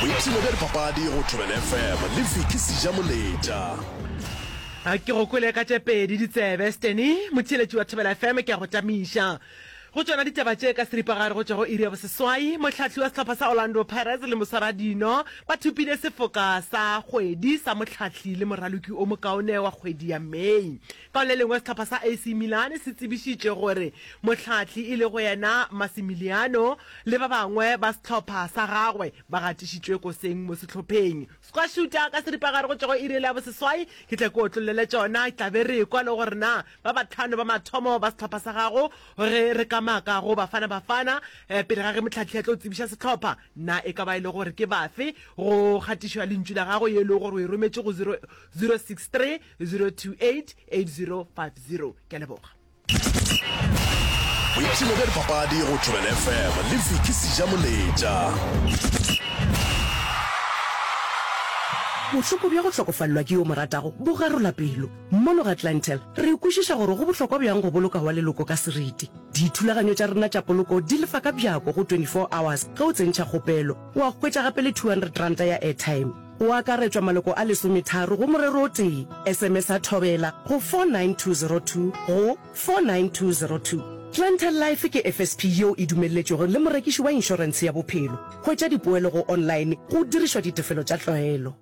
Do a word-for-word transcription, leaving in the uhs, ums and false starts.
Boipshino bja dipapadi go Thobela F M le Vicky Sejamoletša. Ke go kwele ka tše pedi ditsebe, Steny, motheeletši wa Thobela F M, ke a go tamiša. Go tšona ditaba tše ka seripagare go tšwa go iri ya boseswai, mohlahli wa sehlopha sa Orlando Pirates le moswaradino ba thopile sefoka sa kgwedi sa mohlahli le moraloki o mokaone wa kgwedi ya May. Ka go le lengwe sehlopha sa A C Milan se tsebišitše gore mohlahli e lego yena Massimiliano le ba bangwe ba sehlopha sa gagwe ba gatišitšwe koseng mo sehlopheng. Squashuta ka seripagare go tšwa go iri ya boseswai, ke tle ke otlollele tšona, tla be re ekwa le gore na ba batlhano ba mathomo ba sehlopha sa gago ge re ka maka go Bafana Bafana pele ga ge mohlahli a tlo tsebiša sehlopha, na e ka ba e le gore ke bafe go kgatišo ya lentšu la gago ye e lego gore o e rometše go zero six three zero two eight eight zero five zero. Ke a leboga. Boipshino bja dipapadi go Thobela F M le Vicky Sejamoletša. Bohloko bja go hlokofalelwa ke yo mo ratago bo garola pelo. Mono ga Clientele, re kwešiša gore go bohlokwa bjang go boloka wa leloko ka seriti. Dithulaganyo tša rena tša poloko di lefa ka bjako go twenty-four hours ge o tsentšha kgopelo, wa hwetša gape le two hundred ranta ya airtime. Go akaretšwa maloko a lesometharo go morero o tee. S M S a Thobela go four nine two zero two go four nine two zero two. Clientele Life ke F S P yeo e dumelletšwego le morekiši wa inšorentshe ya bophelo. Hwetša dipoelo go online go dirišwa ditefelo tša tlwaelo.